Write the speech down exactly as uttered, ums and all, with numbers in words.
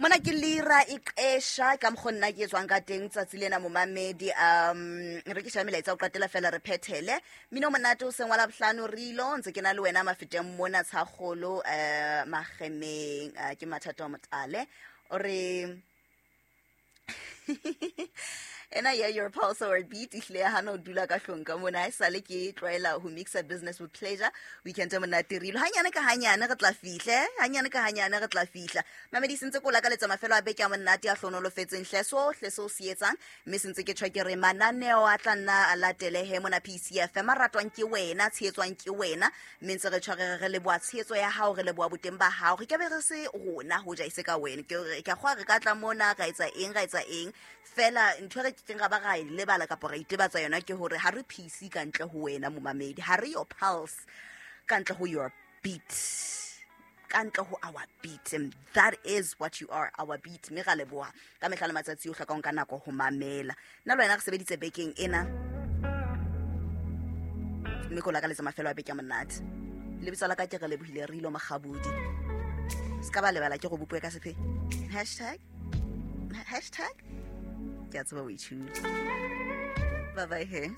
Mona ke lira e qesha ka mokgwa nna ke etswang ka teng tsatsi lena, momamedi. um re ke sheba melaetsa o qetela fela re phethele mmino o monate o seng wa Labohlano. Re ilo ntse ke na le wena Mafeteng mona Tshakgolo, um Magemeng. eh, ke mathata wa motale o re ena ya your pulse or beat ehlile ya hana ho dula ka hlong ka mona. Ha esale ke tlwaela ho mixa business with pleasure. Weekend e monate rilo, hanyane ka hanyane re tla fihla, eh? Hanyane ka hanyane re tla fihla. Mamedi, sentse ko lakaletsa mafelo a beke a monate a hlonolofetseng hle sohle seo se etsang, mme sentse ke tjho ke re mananeo a tla nna a latelehe mona P C F M, a ratwang ke wena, tshehetswang ke wena, mme ntse re tjho re re leboha tshehetso ya hao, re leboha boteng ba hao. Re ka be re se rona ho ja ise ka wena. Ke ke a kgwa re ka tla mona ra etsa eng, ra etsa eng fela. Ntho e re keng ra ba ra e lebala kapa ra itebatsa yona ke hore ha re P C ka ntle ho wena momamedi, ha re your pulse ka ntle ho your beat, ka ntle ho our beat, and that is what you are, our beat. Mme ra leboha ka mehla le matsatsi o hlokang ka nako ho mamela. Nna le wena re sebeditse bekeng ena, mme ko lakaletsa mafelo a beke a monate. Lebitso la ka ke re lebohile re ilo Magabodi. Se ka ba lebala ke go bopue ka sefe hashtag hashtag. Ke a tseba o itshule. Bye bye he.